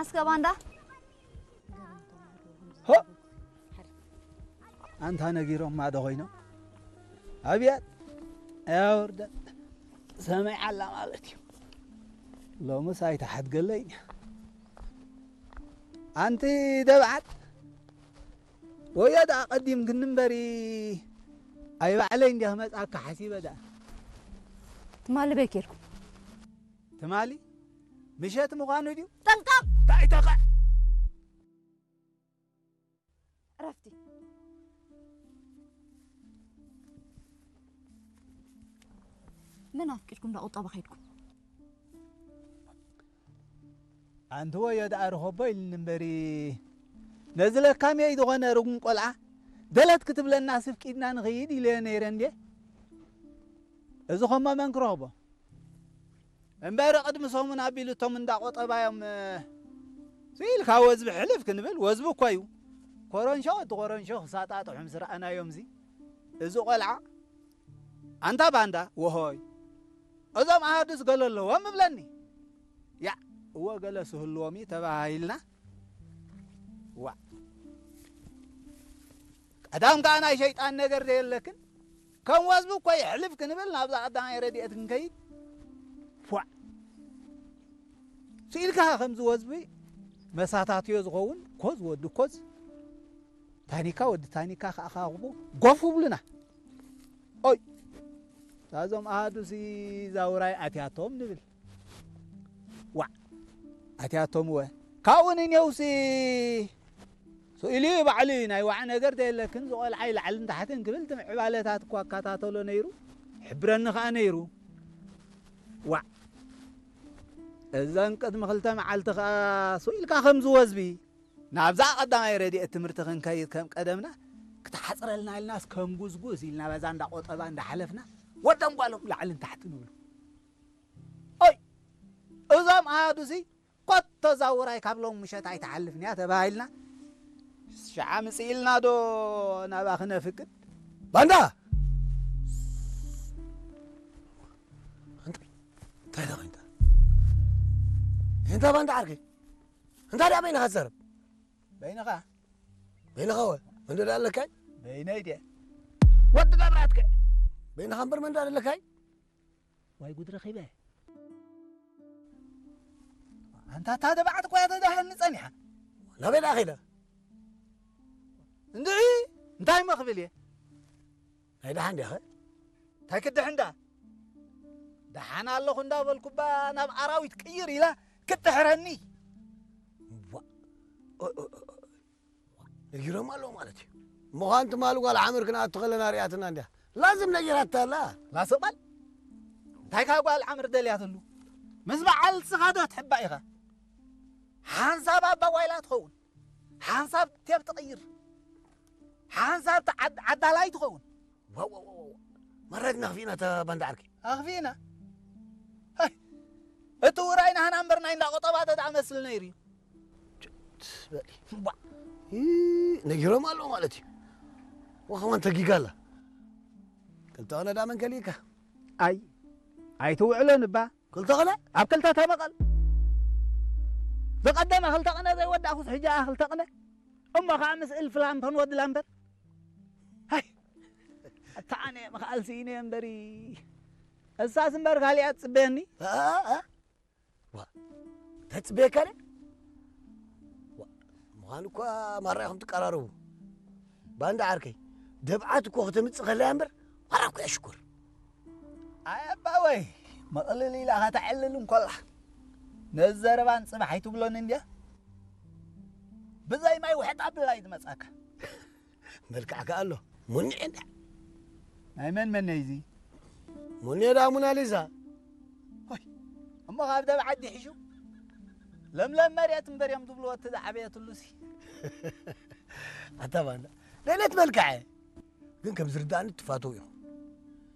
እስከ ባንዳ ሆ ኣንታ ነጊሮማ ዶ ኮይኖም ኣብያት ኣያወርደን ሰማይ ዓላ ማለት እዩ። ሎምስ ኣይተሓድገለይን እያ። ኣንቲ ደብዓት ወዮ ደኣ ቀዲምክኒ እምበሪ ኣይ ባዕለይ እንዲያ ክመጽኣካ ሓሲበ ደኣ። ትማሊ በይ ኬድኩም ትማሊ ምሸት ምዃኑ ድዩ? ጠንቀቕ እንታይ ተኸ ዕረፍቲ። መን ኣፍቂድኩም ዳ ቁጠባ ከይድኩም? ኣንቲ ወዮ ደኣ ርኸቦ ኢልኒ እምበሪ ነዚ ለካምየይ ዝኾነ ርጉም ቆልዓ ደለት ክትብለና ስፍቂድና ንኽይድ ኢለዮ ነይረ እንዴ። እዚ ኸሞ መን ክረኽቦ? እምበሪ ቅድሚ ሰሙን ኣቢሉ እቶም እንዳ ቆጠባዮም ስኢልካ ወዝቢ ሕልፍ ክንብል ወዝቢ እኮ እዩ። ኮረንሾ ወዲ ኮረንሾ ክሳጣጥሑ ምስ ረኣናዮም እዚ እዚ ቆልዓ ኣንታ ባንዳ ወሆይ እዞም ኣሃዱስ ገለ ኣለዎም እብለኒ። ያ እወ ገለ ስህልዎም እዩ ተባሂልና። ዋ ቀዳም ከኣ ናይ ሸይጣን ነገር ዘየለክን ከም ወዝቢ እኮ የሕልፍ ክንብል ናብዛ ቀዳማይ ረድኤት ክንከይድ ፏዕ ስኢልካ ከምዚ ወዝቢ መሳታትዮ ዝኸውን ኮዝ ወዲ ኮዝ ታኒካ ወዲ ታኒካ ከኣኻኽቡ ጎፍ ብሉና ኦይ እዛዞም ኣሃዱ ሲ ዛውራይ ኣትያቶም ንብል ዋዕ ኣትያቶም ወ ካብኡ ንኔውሲ ስኢሉ እዩ ባዕሉ እዩ ናይ ዋዕ ነገር ተየለክን ዝቆልዓይ ላዕልን ታሕትን ክብል ትምዕባለታት እኳ ኣካታተሎ ነይሩ ሕብረኒ ከዓ ነይሩ ዋዕ እዘን ቅድሚ ክልተ መዓልቲ ከዓ ስኢልካ ከም ዝወዝቢ ናብዛ ቀዳማይ ረድኤት ትምህርቲ ክንከይድ ከም ቀደምና ክትሓፅረልና ኢልናስ ከም ጉዝጉዝ ኢልና በዛ እንዳ ቆጠባ እንዳሓለፍና ወደን ጓሎም ላዕልን ታሕቲ ንብሉ ኦይ እዞም ኣሃዱሲ ኮቶ ዛውራይ ካብ ሎም ምሸት ኣይትሓልፍን እያ ተባሂልና ሸዓ ምፅእ ኢልና ዶ ናባ ክነፍቅድ ባንዳ እንታይ እንታይ ዳ ኮይንታ እንታይ ባንዳ ዓርከይ እንታይ ዳ በይንኻ ትዛረብ በይንኻ በይንኻ ወ መንዶ ዳ ኣለካይ በይነይ ድየ ወዲ መብራትከ በይንኻ እምበር መንዶ ኣለካይ ዋይ ጉድ ረኺበ ኣንታ እታ ደባዕት እኮ እያ ተዳህኒ ጸኒሓ ናበይ ደኣ ኸይዳ እንድዒ እንታይ መኽብል እየ ናይ ደሓን ዲያኸ እንታይ ክድሕ እንዳ ደሓን ኣለኹ እንዳበልኩባ ናብ ኣራዊት ቅይር ኢላ ክትድሕረኒ ነጊሮም ኣለዉ ማለት እዩ ምዃን ትማሊ ጓል ዓምር ክንኣቱ ከለና ሪኣትና እንድያ ላዝም ነጊራታ ኣላ ላሰባል እንታይ ካብ ጓል ዓምር ደልያትሉ ምስ በዓል ስኻ ዶ ትሕባእ ኢኻ ሓንሳብ ኣባጓይላ ትኸውን ሓንሳብ ቴብ ትቕይር ሓንሳብ ዓዳላይ ትኸውን መረት ነኽፊእና ተባንዳ ዓርኪ ኣኽፊእና እቲ ውራይ ናህና እምበር ናይ እንዳቆጠባ ተዳኣ መስል ነይሩ እዩ ነጊሮም ኣለዉ ማለት እዩ ወኸማን ተጊጋላ ክልተ ቐነ ዳ መን ከሊእካ ኣይ ኣይትውዕሎን እባ ክልተ ቐነ ኣብ ክልተ ተመቐል ዝቐደመ ክልተ ቐነ ዘይወዳእኩስ ሕጂ ኣ ክልተ ቐነ እሞ ከዓ ምስ እልፊ ላምፐን ወዲ ላምፐን ሃይ ኣታ ኣነ ምኽኣል ስኢነ እምበሪ እሳስ እምበር ካሊኣ ትፅበየኒ ተፅበየካ ደ ምዃኑ እኳ ማራ ኢኹም ትቀራረቡ ባንዳ ዓርከይ ደብዓት እኮ ከተምፅእ ከለያ እምበር ማራ እኮ እያ ሽኮር ኣይ ኣባወይ መቕልል ኢላ ከተዕልል እንኮላ ነዚ ዘረባን ፅባሕ ኣይትብሎን እንድያ ብዘይ ማይ ውሕጥ ኣብላ እዩ ዝመፅኣካ መልክዕ ከኣ ኣሎ ሙኒዕ እንዳ ናይ መን መን ነይዚ ሙኒዕ ዳ ሙናሊዛ እሞ ካብ ደብ ዓዲ ሒሹ ለምለም መሬት እምበር እዮም ዝብልዎ እቲ ዝዓበየትሉ ሲ ኣታ ባንዳ ደለት መልክዐ ግን ከም ዝርዳእኒ ትፋተው ኢኹም